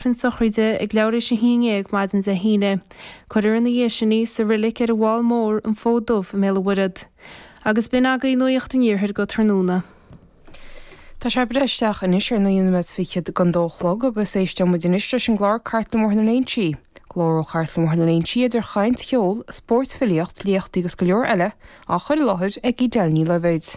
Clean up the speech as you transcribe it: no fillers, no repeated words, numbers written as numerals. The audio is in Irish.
Aifreann sochraide ag leathuair théis a haon dhéag maidin Dé hAoine. Cuirfear ina dhiaidh sin í sa roilic ar an bhFál Mór, An Fód Dubh i mBéal an Mhuirthead. Agus b'in agaibh Nuacht an Iarthair go tráthnóna. Tá sé ag breith isteach anois ar naoi nóiméad fichead don dó a chlog agus éisteoidh muid anois leis an gclár Cartlann Bhóthar na Léinsí. Glór ó Chartlann Bhóthar na Léinsí idir chaint, cheol, spórt, filíocht, léachtaí agus go leor eile á chur i láthair ag Edel Ní Loibhéid.